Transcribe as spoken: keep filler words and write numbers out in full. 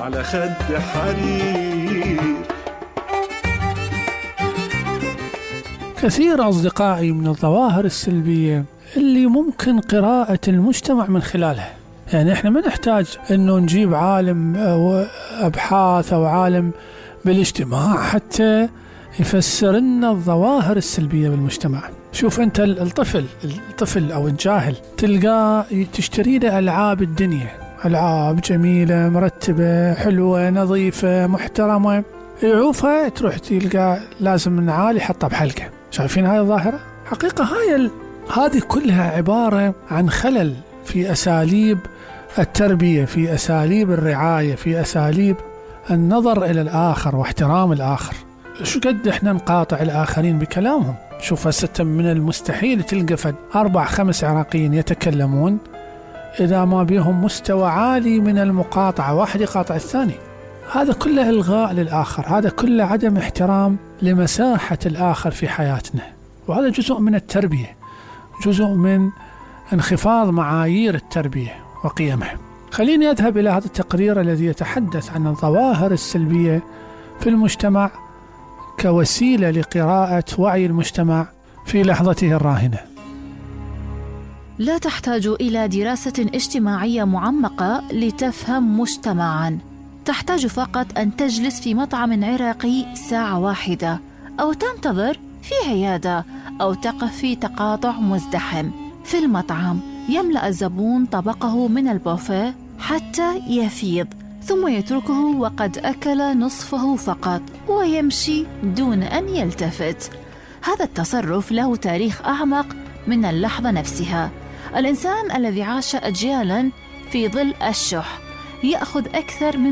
على خد حرير. كثير أصدقائي من الظواهر السلبية اللي ممكن قراءة المجتمع من خلالها. يعني إحنا ما نحتاج إنه نجيب عالم أو أبحاث أو عالم بالاجتماع حتى يفسر لنا الظواهر السلبية بالمجتمع. شوف أنت الطفل الطفل أو الجاهل تلقاه تشتري له ألعاب الدنيا، ألعاب جميلة مرتبة حلوة نظيفة محترمة، يعوفها تروح تلقى لازم نعال يحطها بحلقة. شايفين هاي الظاهرة؟ حقيقة هاي ال... هذه كلها عبارة عن خلل في أساليب التربية، في أساليب الرعاية، في أساليب النظر إلى الآخر واحترام الآخر. شو قد إحنا نقاطع الآخرين بكلامهم؟ شوف هسه من المستحيل تلقى فد أربع خمس عراقيين يتكلمون إذا ما بيهم مستوى عالي من المقاطعة، واحد يقاطع الثاني. هذا كله إلغاء للآخر، هذا كله عدم احترام لمساحة الآخر في حياتنا، وهذا جزء من التربية، جزء من انخفاض معايير التربية وقيمها. خليني أذهب إلى هذا التقرير الذي يتحدث عن الظواهر السلبية في المجتمع كوسيلة لقراءة وعي المجتمع في لحظته الراهنة. لا تحتاج إلى دراسة اجتماعية معمقة لتفهم مجتمعاً. تحتاج فقط أن تجلس في مطعم عراقي ساعة واحدة، أو تنتظر في عيادة، أو تقف في تقاطع مزدحم. في المطعم يملأ الزبون طبقه من البوفيه حتى يفيض، ثم يتركه وقد أكل نصفه فقط ويمشي دون أن يلتفت. هذا التصرف له تاريخ أعمق من اللحظة نفسها. الإنسان الذي عاش أجيالا في ظل الشح يأخذ أكثر من